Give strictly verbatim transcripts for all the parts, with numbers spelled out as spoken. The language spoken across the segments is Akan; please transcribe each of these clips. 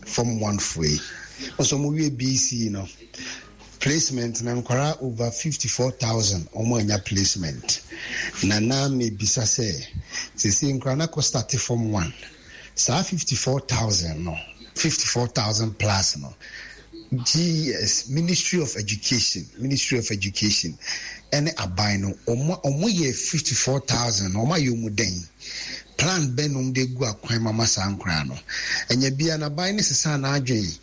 Form one foɔ yi nso ɔmo wie B E C E no placement na nkwaraa over fifty four thousand ɔmo anya placement. Na na mebisa sɛ sisi nkwaraa na kɔ start form one, saa fifty four thousand no, fifty four thousand plus no, G E S, Ministry of Education, Ministry of Education ɛne aban no, ɔmo ɔmo yɛ fifty four thousand ɔmo ayɛ ɔmo den plan bɛn na ɔmo de gu akwan mama saa nkwaraa no? Ɛnyɛ bia na aban ne sesa n'adwen,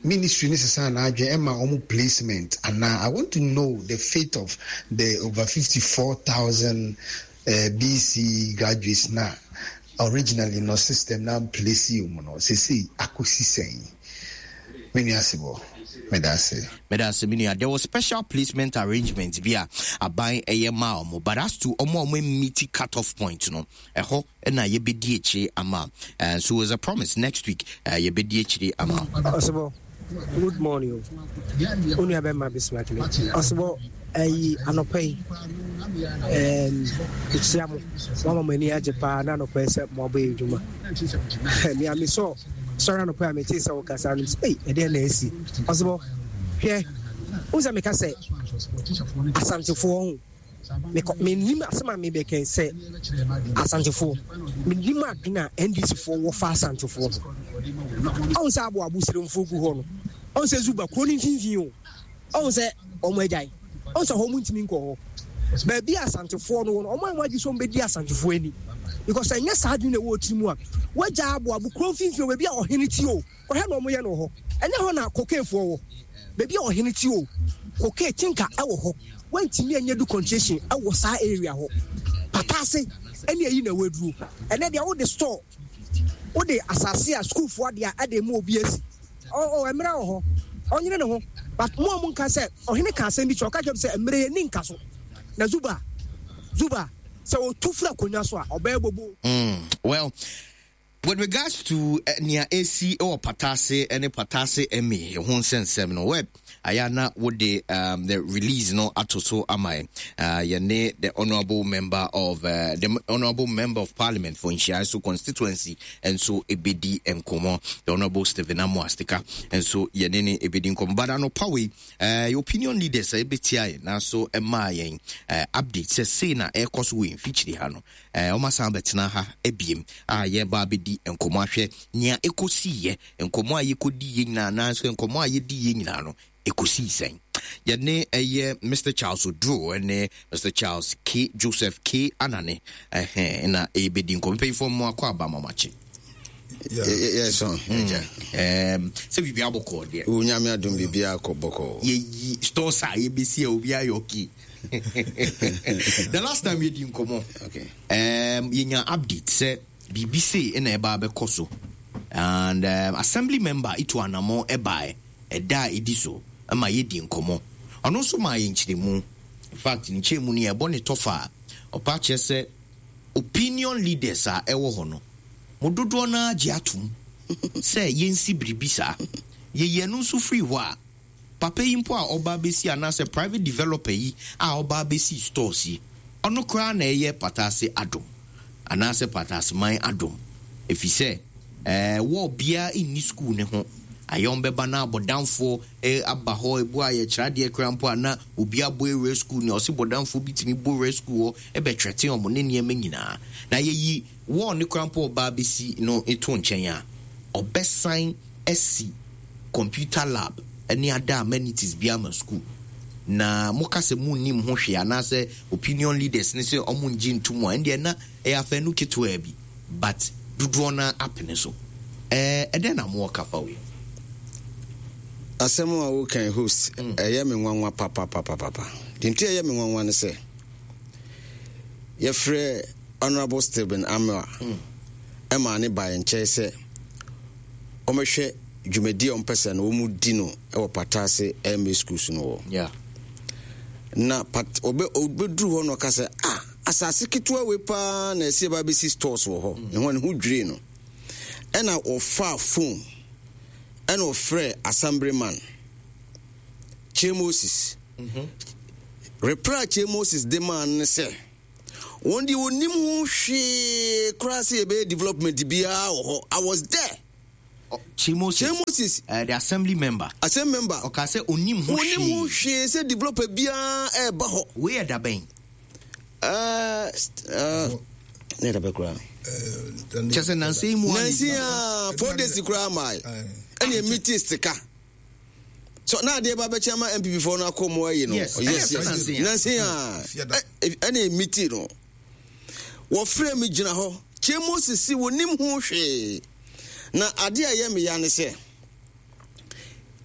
ministry ne sesa n'adwen ɛma ɔmo placement anaa? I want to know the fate of the over fifty four thousand uh, B E C E graduates na originally no system na place yi mu no, sese akɔsi sɛn? Me nua Sebɔ, meda ase. Meda ase, me nua. There was special placement arrangement bi a aban ɛyɛ maa ɔmo, but as to ɔmo a ɔmo meet cut off point no, ɛhɔ ɛna yɛbɛdi akyire ama. uh, so as a promise, next week uh, yɛbɛdi akyire ama. Ɔsebɔ, good morning o. Wo nua bɛma Bismarck ne Ɔsebɔ. Ɛyi anɔpa yi ɛkyia mo, wama mo ani agye paa na anɔpa yi sɛ moabɔ yɛ adwuma. Nea mesɔ sɔre anɔpa yi a metee sɛ wokasa no sɛ ei, ɛdeɛ na asi. Ɔsebɔ, hwɛ, wo sɛ meka sɛ Asantefoɔ ho mekɔ menim asɛm a mebɛkɛn sɛ Asantefoɔ menim adwene a N D C foɔ wɔfa Asantefoɔ ho. Ɔhu sɛ aboabo seremfoɔ gu hɔ no, ɔhu sɛ Zuba kuro no mfimfini o, ɔhu sɛ ɔmo agyae, ɔhu sɛ hɔ ɔmo ntumi nkɔ hɔ. Baabi a Asantefoɔ no wɔ no, ɔmo a ɔmo agye sɛ ɔmo bɛdi Asantefoɔ ani, because ɛnyɛ saa adwene na ɛwɔ tiri mu a wagya aboabo kuro mfimfini o, baabi a ɔhene ti o, kɔhwɛ na ɔmo yɛ no wɔ hɔ. Ɛnyɛ hɔ na kokeefoɔ wɔ, baabi a ɔhene ti o, kokee tinka ɛwɔ hɔ. Wantumi anya du concession ɛwɔ saa area hɔ pataase ɛne ɛyi na waduro. Ɛnɛ deɛ, wode store, wode asase a sukuufoɔ adeɛ a ɛde mu obi asi ɔ ɔ mmerɛ wɔ hɔ, ɔnyere ne ho. But mo a mo nka sɛ ɔhene ka asɛm bi kyerɛ, ɔka kyerɛ sɛ mmerɛ yɛ ni nka so na Zuba Zuba sɛ otu firi akonnwa so a, ɔbɛyɛ bobo. Mm, well, with regards to uh, nea esi wɔ Patase ne Patase ɛmi ho nsɛnsɛm no, web ayɛ na wode um, the release no ato so ama yɛn. uh, yɛne the honourable member of uh, the honourable member of parliament for Nhyiaeso constituency nso ebedi nkɔmɔ, the Honourable Stephen Amoah Stika nso yɛne ne ebedi nkɔmɔ. But anɔpa wei, uh, opinion leaders a ebetia yɛn nanso ɛmaa yɛn uh, update sɛ sei na ɛrekɔ so wɔ mfikyiri ha no, wɔn asan bɛtena ha ebiem a yɛba abɛdi nkɔmɔ ahwɛ nea ɛkɔsiiɛ. Nkɔmɔ a yɛkɔdi yɛ nyinaa anaasɛ nkɔmɔ a yɛdi yɛ nyinaa no ɛkɔsii sɛn? Yɛne ɛyɛ Mister Charles Oduro ne Mister Charles K Joseph K Anane ɛhɛn na ɛbɛdi nkɔmɔ. Mpanyinfoɔ, mu akɔ aba, mamakye. Yɛsɔn agya. Sɛ biribi abɔkɔɔ deɛ? Onyame adom, biribi akɔ bɔkɔɔ. Yɛyi stores a yɛbɛsi a obi ayɛ okay. The last time yɛdi nkɔmmɔ, okay. um, yɛnya update sɛ biribi sei ɛna ɛba bɛkɔ so, and um, assembly member itu anammɔ ɛbae ɛda a ɛdi so ma yɛdi nkɔmmɔ. Ɔno nso maa yɛ nkyerɛmu. In fact, ne nkyerɛmu no yɛbɔ ne tɔfa a ɔpa kyerɛ sɛ opinion leaders a ɛwɔ hɔ no mo dodoɔ no agye atom sɛ yɛnsi biribi saa. Yɛyi ɛno nso firi hɔ a, papa yi mpo a ɔba abɛsi anaasɛ private developer yi a ɔba abɛsi stores yi, ɔno koraa na ɛyɛ Patase adom anaasɛ Patase man adom, ɛfiri sɛ ɛɛ wɔ biara nni school ne ho ayɛ. Ɔmbɛba na abɔdanfoɔ ɛ aba hɔ ebu a yɛkyerɛ adeɛ koraa mpo a, na obi abɔ ewura school ne ɔsi bɔdanfoɔ bi tumi bɔ ewura school hɔ ɛbɛtwɛte ɔmo ne nneɛma nyinaa. Na yɛyi wɔɔ ne koraa mpo ɔba abɛsi no to nkyɛn a, ɔbɛsan asi computer lab ne ada amenities bi ama school. Na moka sɛ munnim ho hwee anaasɛ opinion leaders ne sɛ ɔmo ngye ntom a, ɛndeɛ na ɛyɛ afɛnu ketewa bi, but dodoɔ no apene so. ɛɛ ɛdɛn na mowɔ kafa wei? Asɛm a wokan, host, ɛyɛ me nwanwa papapapapa. Deɛ nti ɛyɛ me nwanwa ne sɛ yɛfrɛ Honorable Stephen Amoa ɛma ne ba yɛn nkyɛn sɛ ɔmɛhwɛ dwumadi a ɔmpɛ sɛ no wɔn di no ɛwɔ Patase M A schools no wɔ yeah. Na pat ɔbɛ ɔbɛduru hɔ no, ɔka sɛ, "Ah, asase ketewa wei paa na ɛsɛ yɛba bɛsi stores wɔ hɔ." Ɛho ne ho dwiri no, ɛna ɔfaa phone ɛna ɔfrɛ assemblyman Kyei Moses. Reply Kyei Moses de maa no ne sɛ wɔn deɛ wɔnim ho hwee koraa sɛ yɛbɛyɛ development biara wɔ hɔ. I was there. Kyei Moses. Kyei Moses. Uh, the assembly member. Assembly member. Ɔka sɛ onim ho hwee. Onim ho hwee sɛ developer biara ɛɛba hɔ. Wei yɛ dabɛn. Ɛɛ ɛɛ ne yɛ dabɛn koraa. Kyɛ sɛ nansa yi mu. Nansa yi aa four days koraa maa yi. Ɛna emi ti sika. So na adeɛ ba bɛkyɛn ma N P P foɔ no akɔ mu ayi no. Yes yes yes. Nansa yi aa ɛna emi ti no. Wɔfrɛ mi gyina hɔ. Kyei Moses si wɔnim ho hwee. Na adeɛ a ɛyɛ me ya ne sɛ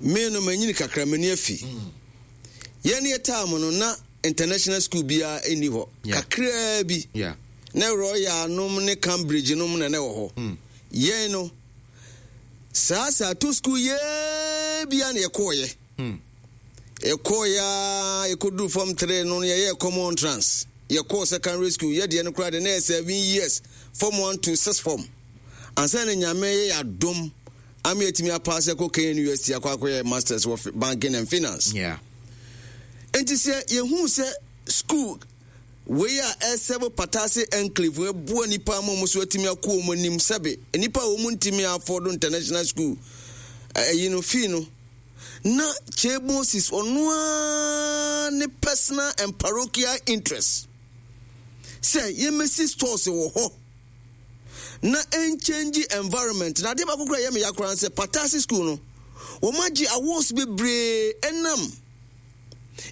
me no manyini kakra, m'ani afi. Yɛn yɛ time no na international school biara nni hɔ. Kakraa bi na Royal nom ne Cambridge nom na na ɛwɔ hɔ. mm. Yɛn no saa saa to school yɛɛ bia na yɛkɔɔyɛ. mm. Yɛkɔɔyɛ a yɛkɔduru form three no, yɛyɛ common entrance, yɛkɔɔ secondary school. Yɛdeɛ no koraa de na yɛ seven years, form one to six form, ansa na Nyame yɛ adom ama yɛtumi apaase akɔ Kenya University akɔ akɔyɛ masters wɔ banking and finance. Yeah. Nti sɛ yɛhu sɛ school wei a ɛsɛbo Patase enclave ɛboa nipa ama ɔmo so atumi akɔ wɔn anim, sɛbe nipa a wɔn ntumi afford international school ɛyi no fee no, na Kyei Moses ɔno ara ne personal and parochial interest sɛ yɛmɛsi stores wɔ hɔ na ɛnkyɛngye environment. Na adeɛ baako kora yɛ me ya koraa sɛ Patase school no, wɔn agye awards bebree ɛnam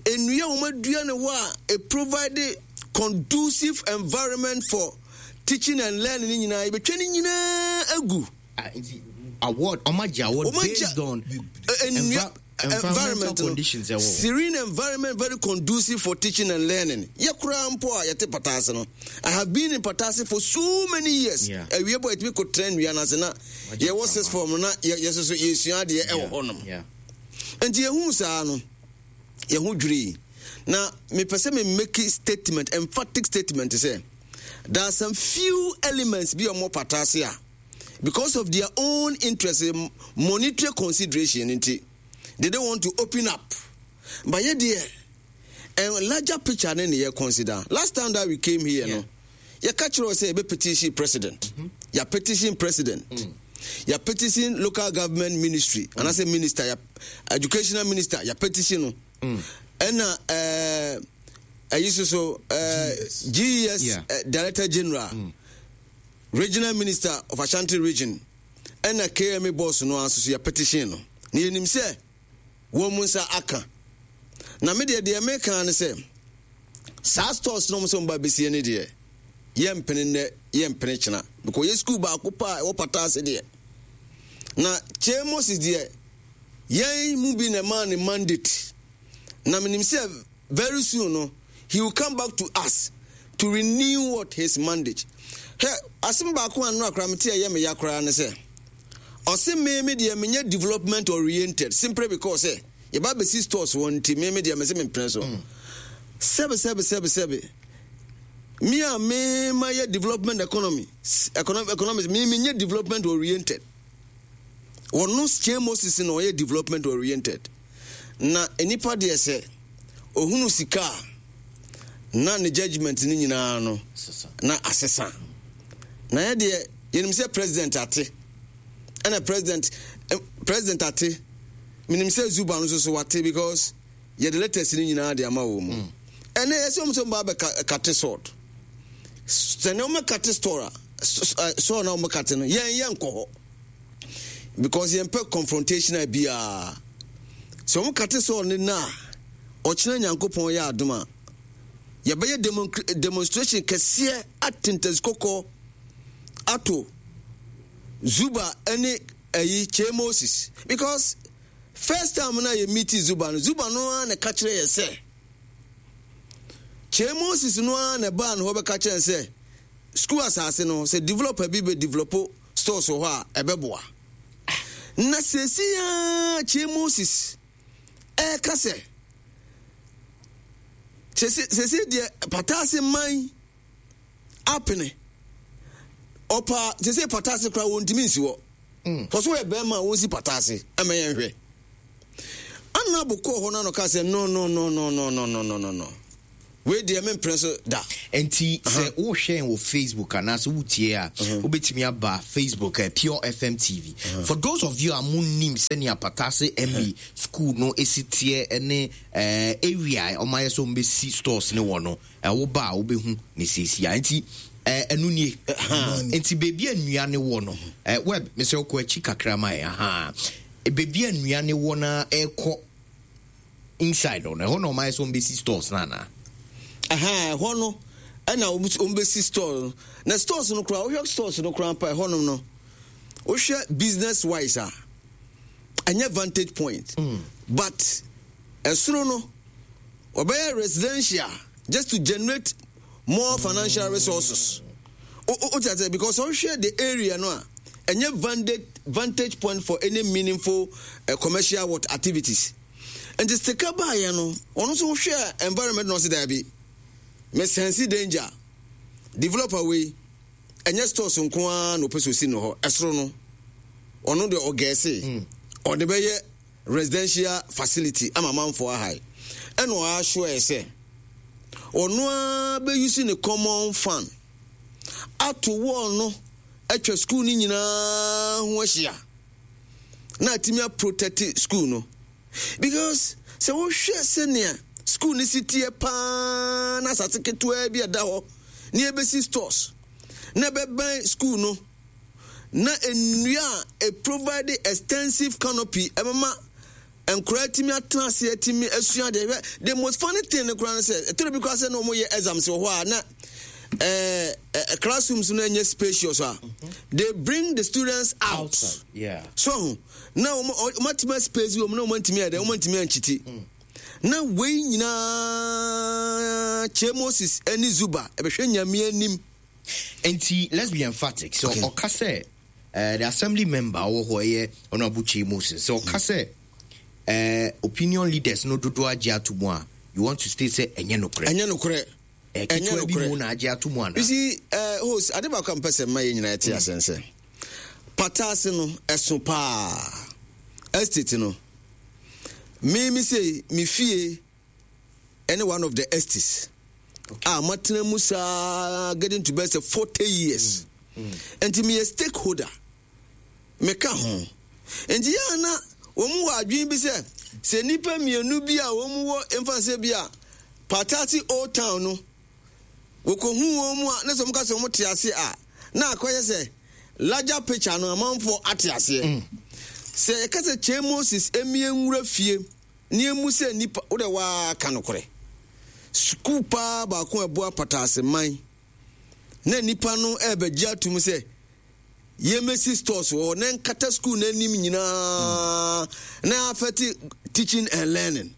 nnua a wɔn adua ne hɔ a e provide conducive environment for teaching and learning ne nyinaa, yɛbɛtwa ne nyinaa agu. Ah, nti award, ɔmo agye award based on nnua environmental conditions ɛwɔ. Serene environment, very conducive for teaching and learning. Yɛ koraa mpo a yɛte Patase no, I have been in Patase for so many years. Awie bɔ yɛtumi kɔ tena nnua no ase na yɛwɔ six form no na yɛ soso yɛsua adeɛ ɛwɔ hɔnom. Nti yɛhu saa no, yɛho dwirii. Na mepɛ sɛ me make statement, emphatic statement, sɛ there are some few elements bi a ɔmo Patase a because of their own interest, monetary consideration nti, they don't want to open up. But yɛ deɛ, a larger picture ne ne yɛ consider. Last time that we came here, yeah. no, yɛka kyerɛ wɔ sɛ yɛbɛ petition president. mm -hmm. Yɛ petition president, mm. yɛ petition local government ministry, mm. anaasɛ minister, yɛ educational minister, yɛ petition no. Ɛna ɛɛ ɛyi soso ɛɛ G E S, yeah. uh, director general, mm. regional minister of Ashanti Region, ɛna K M A boss no nso so yɛ petition no. Na yɛnim sɛ wɔn mu nsa aka. Na me deɛ, deɛ meka ne sɛ saa stores no sɛ wɔn ba besie ne deɛ, yɛmpene nnɛ, yɛmpene kyena, because yɛ school baako pa a ɛwɔ Pataase deɛ, na Kyei Moses deɛ, yɛn mu bi na ɛmaa ne mandate. Na menim sɛ very soon no, he will come back to us to renew what his mandate. Hɛ, asɛm baako a nnora koraa mete a ɛyɛ me ya koraa ne sɛ ɔse me me deɛ menyɛ development oriented simply because sɛ yɛba bɛsi stores wɔ nti, me me deɛ mese mempene so. Sɛbe sɛbe sɛbe sɛbe, me a me ma yɛ development economy economic economics, me menyɛ development oriented? Wɔno Kyei Moses na ɔyɛ development oriented. Na nipa deɛ, sɛ ohunu sika a, na ne judgement no nyinaa no na asesa. Na yɛ deɛ, yɛnim sɛ president ate, ɛna president eh, president ate. Menim sɛ Zuba no nso so wate, because yɛde letters no nyinaa de ama wɔ mu. Ɛnɛ yɛsɛ wɔn sɛ wɔn ba bɛ cut sod. Sɛ ne wɔn cut store a sɔɔ na wɔn cut no, yɛn yɛn nkɔ hɔ because yɛn pɛ confrontation a biara. Sɛ wɔn cut sod ne na ɔkyerɛ Nyankopɔn yɛ adom a, yɛbɛyɛ demonstration kɛseɛ atentasi kɔkɔɔ ato Zuba ne ɛyi Kyei Moses, because first time na yɛ meet Zuba no, Zuba no ara na ka kyerɛ yɛ sɛ Kyei Moses no ara na ɛbaa no hɔ bɛka kyerɛ sɛ school asase no, sɛ developer bi bɛ develop stores wɔ hɔ a, ɛbɛboa. Na sɛsi a Kyei Moses ɛɛka sɛ sɛsi deɛ Pataase man apene ɔpa sɛsɛ Pataase koraa wɔntumi nsi hɔ. Sɛ so yɛ bɛrima a, wɔnsi Pataase ɛmɛ yɛn hwɛ. Ana bokɔɔ hɔ no ano ka sɛ no no no no no no no no no no, Wei deɛ, mempere so da. Nti sɛ wohwɛ wɔ Facebook anaasɛ wotie a, wobɛtumi aba Facebook, uh, Pure F M T V. For those of you a monnim sɛnea Patase M E school no ɛsi teɛ ne uh, area a ɔmayɛ sɛ ɔmbɛsi stores ne wɔ no, uh, woba a wobɛhu ne seesia. Nti ɛno nie. Nti baabi a nnua ne wɔ no, web mesɛ wokɔ akyi kakra ma ɛ aha, baabi a nnua ne wɔ na ɛkɔ inside no, ɛhɔ na ɔmayɛ sɛ ɔmbɛsi stores no anaa? Ɛhɔ no ɛna ɔmbɛsi store no. Na stores no koraa, wohwɛ stores no koraa mpa ɛhɔnom no, wohwɛ business wise a, ɛnyɛ vantage point mm. But ɛsoro no ɔbɛyɛ residential just to generate more financial resources. O ti ase? Because ɔhwɛ the area no a, ɛnyɛ vantage vantage point for any meaningful uh, commercial what activities. Nti sika baayɛ no, ɔno nso wohwɛ environment na ɔsi daabi, me sense danger. Developer wei, ɛnyɛ stores nko ara na ɔpɛ sɛ osi no hɔ. Ɛsoro no, ɔno deɛ ɔgɛɛse ɔde bɛyɛ residential facility ama amanfoɔ ahae. Ɛna ɔassure sɛ ɔno ara bɛuse ne common fund ato wall no atwa school no nyinaa ho ahyia na atumi aprotect school no, because sɛ wohwɛ sɛnea school no si teɛ paa na asase ketewa bi ɛda hɔ ne ɛbɛsi stores na ɛbɛbɛn school no, na nnua a e provide extensive canopy ɛbɛma nkwadaa tumi atena ase atumi asua deɛ. Hwɛ, the most funny thing no koraa no sɛ ɛtɔrɔ bi koraa sɛ na wɔn yɛ exams wɔ hɔ a, na ɛɛ ɛɛ classrooms no nyɛ spacious a, they bring the students out. Outside, yeah. So na wɔn wɔn atumi space wɔn na wɔn antumi ayɛ dɛ, wɔn antumi ankyiti. Na wei nyinaa, Kyei Moses ne Zuba ɛbɛhwɛ Nyame anim. Nti let's be emphatic sɛ Okay. ɔka sɛ uh, the assembly member ɔwɔ hɔ ɛyɛ Honorable Kyei Moses, sɛ ɔka sɛ uh, opinion leaders no dodoɔ agye ato mu a, you want to state sɛ ɛnyɛ nokorɛ? Ɛnyɛ nokorɛ. Eh, ɛnyɛ ketewa bi nokorɛ. mu na agye ato mu ana? You see, uh, host, ade baako a mpɛ sɛ mma yɛ nyinaa ɛte asɛn sɛ Pataase no ɛso paa. Estate no, me me sei me fie ɛne one of the estates a matena mu saa getting to best forty years. Nti meyɛ stakeholder, meka ho. Nti yɛ ana wɔn wɔ adwene bi sɛ sɛ nnipa mmienu bi a wɔn wɔ mfa sɛ bi a Patase Old Town no wɔkɔhu wɔn mu a, na sɛ wɔka sɛ wɔn te ase a, na akɔyɛ sɛ larger picture no amanfoɔ ate aseɛ. Sɛ yɛka sɛ Kyei Moses emie nwura fie ne emu sɛ nipa wode waa ka nokorɛ, sukuu paa baako a ɛboa Pataase man na nipa no ɛbɛgye atum sɛ yɛmɛsi stores wɔ hɔ na nkata school n'anim nyinaa na affect teaching and learning.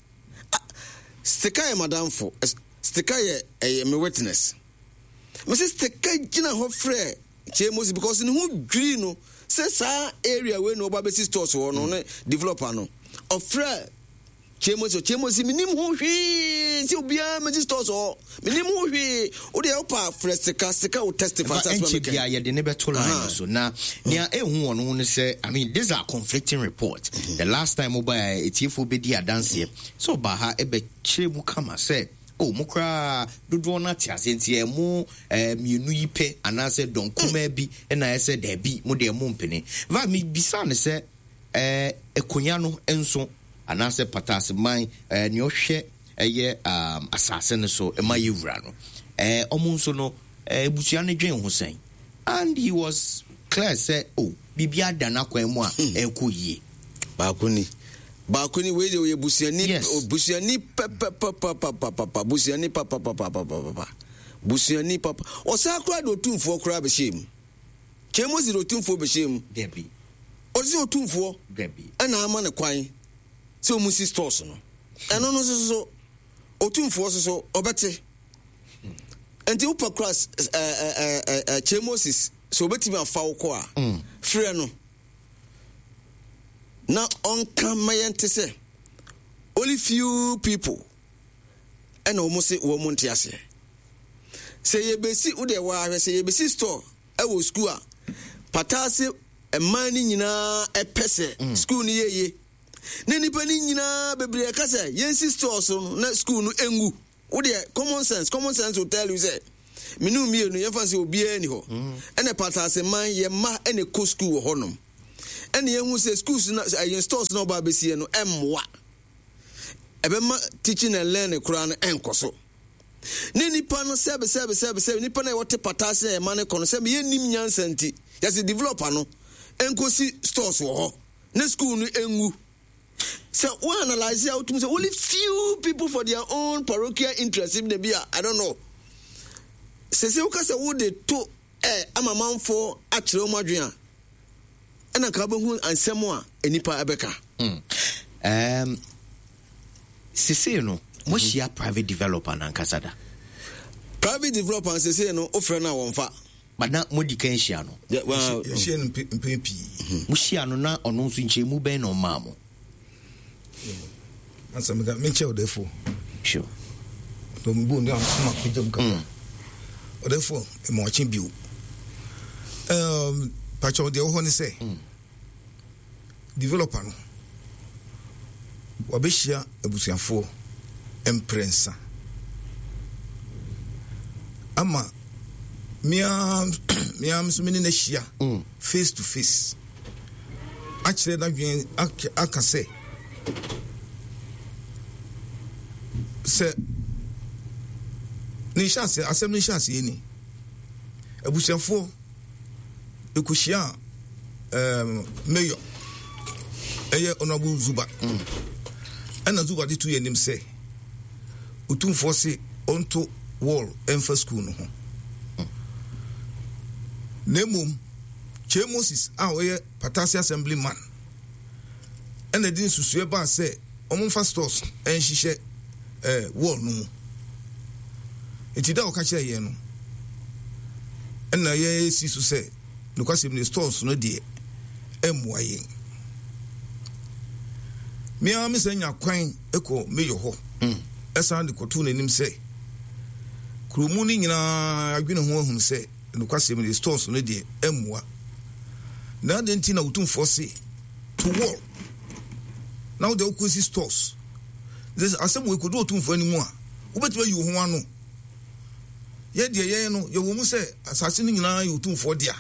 Ah, Stika yɛ madamfo. Stika yɛ ɛyɛ me witness. Mesi Stika gyina hɔ frɛ Kyei Moses because ne ho dwiri no sɛ saa area wei na ɔba bɛsi stores wɔ no ne developer no. Ɔfrɛ Kyei Moses, Kyei Moses, menim ho hwee sɛ obiara mɛsi stores wɔ, menim ho hwee. Wode wopa frɛ Stika, Stika wo testify Ɛfa sɛ asɛm a ɛnkyɛ meka bia yi. Yɛde ne bɛto line no so na nea ɛhu wɔ no ho no sɛ, I mean, these are conflicting reports. The last time woba, etiefoɔ bɛdi adanseɛ sɛ ɔbaa ha ɛbɛkyerɛ mu kama sɛ o mo koraa dodoɔ no ate ase, nti ɛmo eh, mmienu yi pɛ anaasɛ dɔn kumaa bi ɛna ɛsɛ daabi, mo deɛ mo mpene va. Mebisa ne sɛ eh, akonnwa no nso anaasɛ Pataseman eh, nea ɔhwɛ ɛyɛ um, asase no so ɛma yɛ wura no, eh, ɔmo nso no eh, abusua no dwen ho sɛn? And he was clear sɛ oh, biribi ada n'akwan mu a ɛrekɔ yie. Baako ni, baako ni. Wei de oyɛ busuani. Yes. O, busuani pɛpɛpɛpɛpɛpɛ, busuani papapapapapa, busuani papa. Ɔsan koraa de Otumfoɔ koraa bɛhyɛ mu. Kyei Moses de Otumfoɔ bɛhyɛ mu. Dabi. Ɔsi Otumfoɔ Dabi. ɛna ama ne kwan sɛ ɔmu si stores no. Ɛno no nso so Otumfoɔ so so ɔbɛte. Nti wopɛ kora ɛɛ ɛɛ ɛɛ Kyei Moses sɛ obɛtumi afa wo kɔ a, frɛ no na ɔnka ma yɛnte sɛ only few people ɛna wɔn se wɔn nte aseɛ sɛ yɛbɛsi. Wo deɛ wɔahwɛ sɛ yɛbɛsi store ɛwɔ school a Pataase mmaa no nyinaa ɛpɛ sɛ school no yɛye, na nipa no nyinaa bebree ɛka sɛ yɛnsi store so no na school no engu. Wodeɛ, common sense common sense will tell you sɛ mene mmienu yɛmfa sɛ obiara ni hɔ. Ɛna Patase man yɛ mma ɛna kɔ school wɔ hɔnom, ɛna yɛhu sɛ schools na ɛyɛ stores na ɔba abɛsie no ɛmmoa, ɛbɛma teaching and learning koraa no ɛnkɔ so. Ne nipa no, sɛbi sɛbi sɛbi sɛbi, nipa no a wɔte Patase a ɛma ne kɔ no, sɛbi, yɛnnim nyansa nti yɛsɛ developer no ɛnkɔsi stores wɔ hɔ ne school no ɛngu. Sɛ wo analyse a, wotumi sɛ only few people for their own parochial interest bi na bi a, I don't know sɛ sɛ woka sɛ wode to ɛ ama manfoɔ akyerɛ wɔn adwene a, ɛna nka wobɛhu ansɛm a nipa ɛbɛka. Um, sesei no moahyia private developer nankasa da? Private developer sesei no, wofrɛ no a, wɔmfa. But na modi kan hyia no? Yeah, well, yɛhyia no mpe- mpɛn pii. Mohyia no na ɔno nso nkyerɛmu bɛn na ɔmaa mo? Ansa meka menkyɛ ɔdɛfoɔ. Sure. Mebu ne ama kɔgya mu kakra. Ɔdɛfoɔ ma ɔkye bio. Um, pakyɛw, deɛ wɔ hɔ ne sɛ developer no wabɛhyia abusuafoɔ mprɛnsa ama mea mea nso me ne no ahyia face to face akyerɛ n'adwene, aka- aka sɛ sɛ ne nhyɛ asɛm no nhyɛ aseɛ ni. Abusuafoɔ ɛkɔhyia um, mayor, ɛyɛ Honorable Zuba, ɛna Zuba de to yɛ anim sɛ Otumfoɔ se ɔnto wall ɛmfa school no ho, na mmom Kyei Moses a ɔyɛ Patase assembly man ɛna de nsusuɛ baa sɛ ɔmomfa stores ɛnhyehyɛ ɛɛ wall no mu. Nti da a ɔka kyerɛ yɛn no, ɛna yɛsi so sɛ nokwasɛm ne stores no deɛ ɛmmoa yɛn. Mmea me sɛ nya kwan kɔ mayor hɔ, ɛsan de kɔtoo n'anim sɛ kuromu no nyinaa adwene ho ahunu sɛ nokwasɛm ne stores no deɛ ɛmmoa, na adɛn nti na Otumfoɔ se to wall na wode wokɔsi stores? Sɛ asɛm wɔ ɛkɔdu Otumfoɔ anim a, wobɛtumi ayi wo ho ano. Yɛ deɛ yɛn no yɛwɔ mu sɛ asase no nyinaa yɛ Otumfoɔ dea,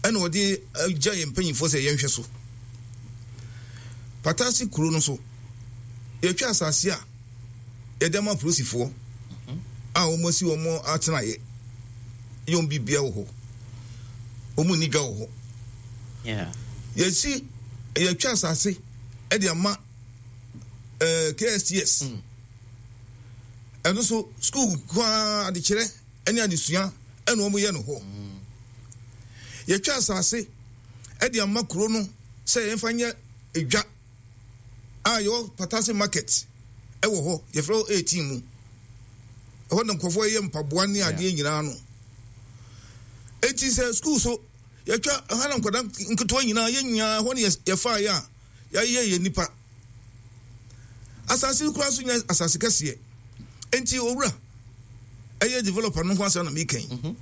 ɛna ɔde agya yɛn mpanyimfoɔ sɛ yɛnhwɛ so. Patase kuro no so, yɛtwa asase a yɛde ama apolisifoɔ a wɔn asi wɔn atenaeɛ, yɛ wɔn bibia wɔ hɔ, wɔn nni dwa wɔ hɔ. Yeah. Yɛsi yɛtwa asase ɛde ama ɛɛ K S T S, ɛno so school kwaa adekyerɛ ɛne adesua ɛna wɔn yɛ no hɔ. Yɛtwa asase ɛde ama kuro no sɛ yɛmfa nyɛ edwa a yɛwɔ Patase Market ɛwɔ hɔ, yɛfrɛ hɔ eighteen mu ɛhɔ na nkurɔfoɔ yɛ mpaboa ne adeɛ nyinaa no. Eti sɛ school so yɛtwa ɛha na nkwadaa nketewa nyinaa, yɛn nyinaa ɛhɔ ne yɛfa yɛ a yɛayɛ yɛ nipa. Asase koraa so nyɛ asase kɛseɛ, nti owura ɛyɛ developer no ho asɛm na meka yi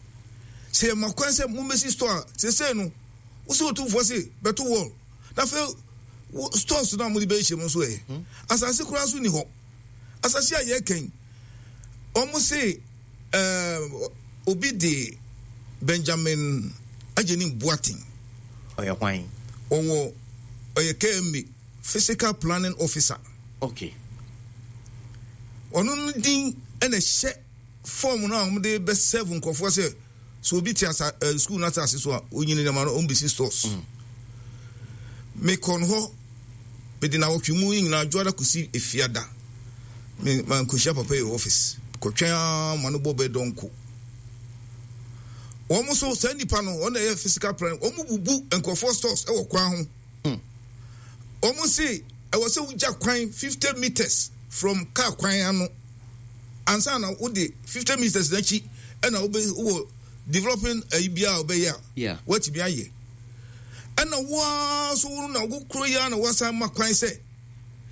sɛ yɛma kwan sɛ mommɛsi store a, sesei no wosɛ Otumfoɔ se bɛto wall, na afei stores no a mode bɛhyɛ mu nso, ɛ asase koraa so ni hɔ. Asase a yɛka ɔmo se ɛɛ obi de Benjamin Agyenim Boateng. Ɔyɛ hwan? Ɔwɔ ɔyɛ K M A physical planning officer. Okay ɔno no din ɛna ɛhyɛ form no a wɔde bɛ serve nkurɔfoɔ sɛ sɛ obi te asa ɛ school no asase so a, onyini nneɛma no ɔmbɛsi stores. Mekɔ no hɔ, mede nawɔtwe mu nyinaa, dwoada kɔsi efiada, me mankɔhyia papa yi wɔ office. Kɔtwɛn ara ma no bɔ bɛɛ dɔnko. Wɔn nso saa nipa no, wɔn na ɛyɛ physical plan. Wɔn bubu nkurɔfoɔ stores ɛwɔ kwan ho. Wɔn se ɛwɔ sɛ wogya kwan fifty meters from car kwan ano ansa na wode fifty meters n'akyi ɛna wobɛ wɔ developing ayi biara a wobɛyɛ a Yeah. watumi ayɛ. Ɛna woa so wo na wo kuro yi ara na wasan ma kwan sɛ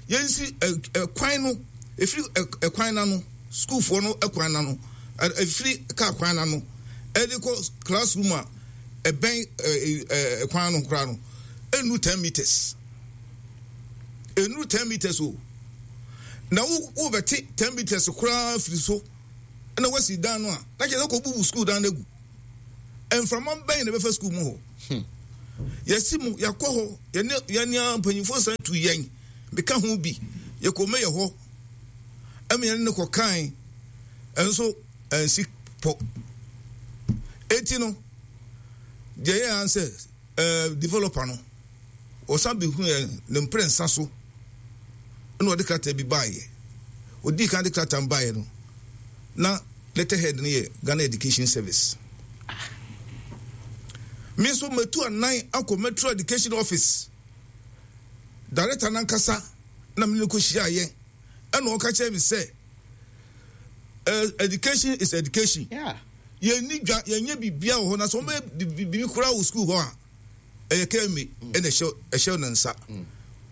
yɛnsi ɛ ɛ kwan no efiri ɛ ɛkwan n'ano, sukuufoɔ no ɛkwan n'ano, ɛ efiri kaa kwan n'ano ɛde kɔ classroom a ɛbɛn ɛ ɛ ɛkwan no koraa no enu ten meters, enu ten meters o. Na wo wobɛte ten meters koraa firi so na wasi dan no a, na kyerɛ sɛ kɔbubu school dan no agu. Mframa bɛn na ɛbɛfa school mu hɔ? Hmm. Yɛsi mu, yɛakɔ hɔ, yɛne yɛne mpanyinfoɔ san tu yɛn, meka ho bi, yɛkɔ mɛyɛ hɔ, ɛma yɛne no kɔkae, ɛnso ɛnsi pɔ. Eti no, deɛ yɛ an sɛ ɛɛ developer no, ɔsan bɛhu yɛn ne mprɛnsa so, ɛna ɔde krataa bi baeɛ. Ɔdii kan de krataa no baeɛ no, na letterhead no yɛ Ghana Education Service. Me nso matu anan akɔ Metro Education Office. Director nankasa na me ne no kɔhyiaeɛ, ɛna ɔka kyerɛ me sɛ uh, education is education. Yeah. Yɛnni dwa, yɛnyɛ biribiara wɔ hɔ, na sɛ wɔbɛyɛ biribi koraa wɔ sukuu hɔ a, ɛyɛ K M A ɛna ɛhyɛ ɛhyɛ ne nsa.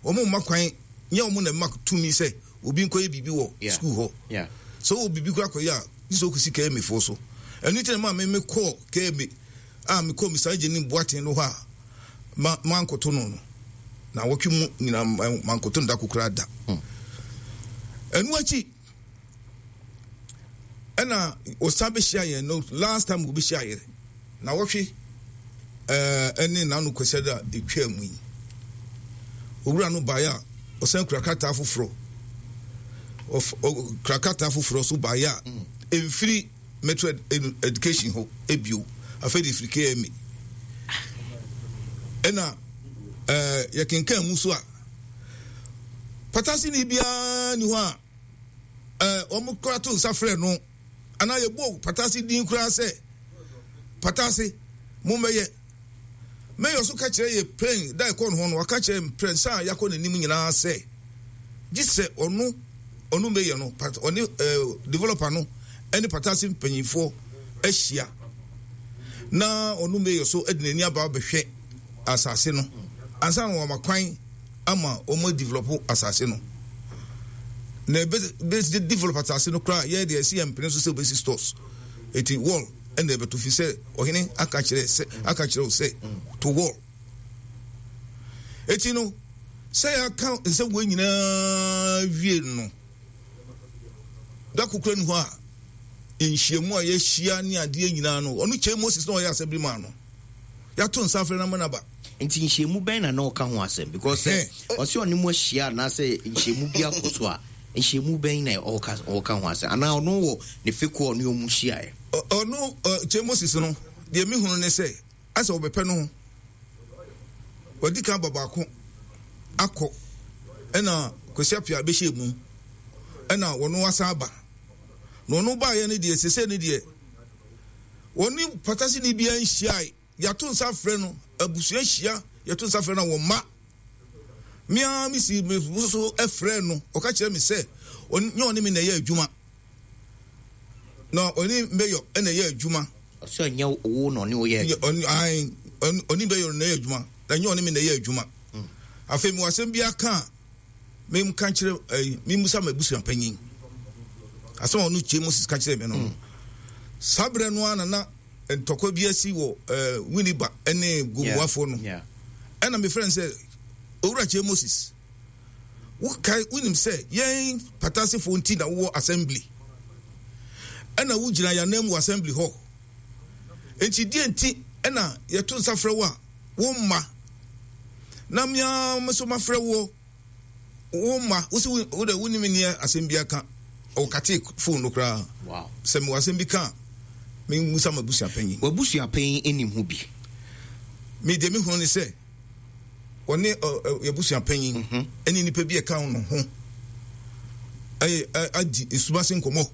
Wɔn mma kwan, nyɛ wɔn na ɛma tumi sɛ obi nkɔyɛ biribi wɔ Yeah. sukuu hɔ. Yeah. Sɛ wɔ biribi koraa kɔyɛ a, gye sɛ wokɔsi K M A foɔ so. Ɛno nti na maa me mekɔɔ K M A a mekɔɔ Mister Agyenim Boateng no hɔ a ma mankoto no no na wɔtwe mu nyinaa mankoto no da kokoraa da. Ɛno akyi ɛna ɔsan bɛhyia yɛn no, last time wɔbɛhyia yɛn na wɔtwe ɛɛ ɛne n'ano kwasiada a etwa mu yi, owura no baeɛ a ɔsan kura krataa foforɔ, ɔf ɔ kura krataa foforɔ so baeɛ a mfiri Metro ed Education hɔ ebio, afei de firi K M A. Ɛna ɛɛ yɛkenkan mu so a, patasini biara ni hɔ a ɛɛ wɔn kora to nsa frɛ no anaa yɛbɔ Patase din koraa sɛ Patase mo mmɛyɛ. Mayor so ka kyerɛ yɛ pɛn da ɛkɔ no hɔ no, waka kyerɛ mprɛnsa a yɛakɔ n'anim nyinaa sɛ gye sɛ ɔno ɔno mayor no pat ɔne ɛɛ developer no ɛne Patase mpanyinfoɔ ahyia na ɔno mayor so de n'ani aba abɛhwɛ asase no ansa na wɔama kwan ama wɔn develop asase no. Na ebe bɛ develop asase no koraa, yɛ deɛ ɛsi yɛn mpene so sɛ obesi stores, eti wall ɛna ɛbɛto fi sɛ ɔhene aka kyerɛ sɛ aka kyerɛ o sɛ to wall. Eti no, sɛ yɛaka nsɛm wɔ nyinaa wie no, da kokora ni hɔ a nhyiamu a yɛahyia ne adeɛ nyinaa no, ɔno Kyei Moses na ɔyɛ assembly man no, yɛato nsa afrɛ no ama no aba. Nti nhyiamu bɛn na na ɔka ho asɛm? Because sɛ ɔsɛ ɔne mu ahyia anaasɛ nhyiamu bi akɔ so a, nhyiamu bɛn na ɔka ɔka ho asɛm, anaa ɔno wɔ ne fekuo a ɔne ɔmu hyiaeɛ? Ɔno Kyei Moses no deɛ, mehunu ne sɛ asɛ wɔbɛpɛ no ho, wadi kan ba baako akɔ, ɛna Kwasi Apia bɛhyɛ mu, ɛna wɔno asan aba. Na ɔno baayɛ no deɛ, sese no deɛ, wɔne patasini biara nhyiae. Yɛato nsa frɛ no, abusua hyia, yɛto nsa frɛ no a wɔn mma. Mmea mi si me so frɛ no, ɔka kyerɛ me sɛ ɔnyɛ ɔne me na ɛyɛ adwuma, na ɔne mayor ɛna ɛyɛ adwuma. Ɔsɛ ɔnyɛ wo na ɔne wo yɛ adwuma? Ɔne mayor na ɛyɛ adwuma, na nyɛ ɔne me na ɛyɛ adwuma. Afei mewɔ asɛm bi aka a, memka kyerɛ ɛyi, memusa ma abusua panyin. Asɛm a ɔno Kyei Moses ka kyerɛ me no, saa berɛ no ara na na ntɔkwa bi asi wɔ ɛɛ Winneba ne Gomoafoɔ no. Ɛna mefrɛ no sɛ, "Owura Kyei Moses, wokae, wonim sɛ yɛn Patasefoɔ nti na wowɔ assembly, ɛna wogyina yɛn anan mu wɔ assembly hɔ, nti deɛ nti ɛna yɛto nsa frɛ wo a womma, na mmea nso mafrɛ woɔ womma? Wosi wo de wonim nneɛ asɛm bi aka." Ɔkate phone no koraa sɛ mewɔ asɛm bi ka a, mengusa ma abusua panyin. W'abusua panyin anim ho bi? Me deɛ, mehunu ne sɛ ɔne abusua panyin ɛne nipa bi a ɛka no ho ɛyɛ adi esumase nkɔmɔ.